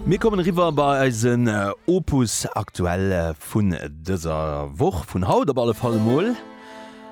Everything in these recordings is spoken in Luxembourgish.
Mir kommen eriwwer bei eisen Opus Aktuell vun dëser Woch, vun haut op alle Fall emol.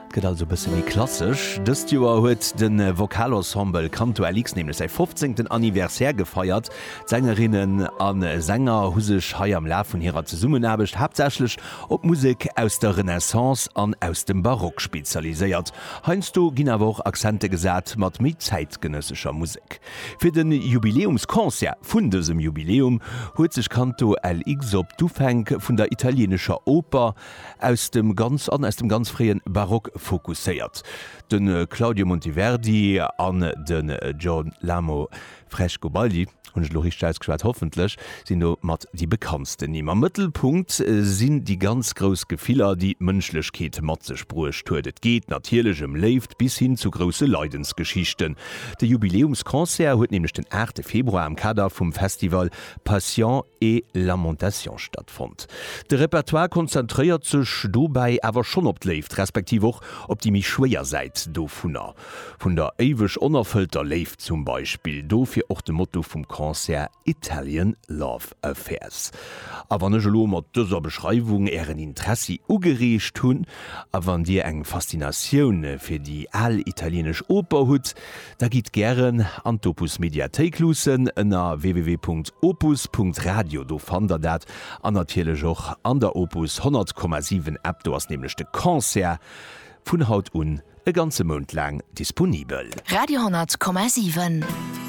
Et gëtt also e bësse méi klassesch. Dëst Joer huet de Vokalensemble Canto LX nämlech säi 15. Anniversaire gefeiert. D'Sängerinnen a Sänger hu sech hei am Laf vun hirer Zesummenaarbecht haaptsächlech op Musek aus der Renaissance an aus dem Barock spezialiséiert. Heiansdo ginn awer och Accente gesat mat méi zäitgenëssescher Musek. Fir de Jubiläumsconcert vun dësem Jubiläum huet sech Canto LX op d'Ufänk vun der italieenescher Oper aus dem ganz an aus dem ganz fréie Barock fokusséiert. De Claudio Monteverdi an den Girolamo Frescobaldi, hunn ech elo richteg ausgeschwat, hoffentlech, sinn do mat déi bekanntsten Nimm. Am Mëttelpunkt sinn déi ganz grouss Gefiller, déi d'Mënschlechkeet mat sech bruecht huet. Et geet natierlech ëm Léift bis hin zu grousse Leidensgeschichten. De Jubiläumsconcert huet nämlech den 8 Februar am Kader vum Festival Passion et Lamentation stattfonnt. De Repertoire konzentréiert sech dobäi awer schonn op d'Léift, respektiv och op déi méi schwéier Säit dovunner. Vun der éiweg onerfëllter Léift zum Beispill. Dofir och de Motto vum Concert Italian Love Affairs. A wann ech elo mat dëser Beschreiwung ären Interessi ugereegt hunn, a wann dir eng Faszinatioun fir déi al italienesch Oper hutt, da gitt gären an d'Opus Mediathéik luussen ënner www.opus.radio, do fannt der dat, an natierlech och an der Opus 100,7 App, do ass nämlech de Concert vun haut un e ganze Mount laang disponibel. Radio 10,7.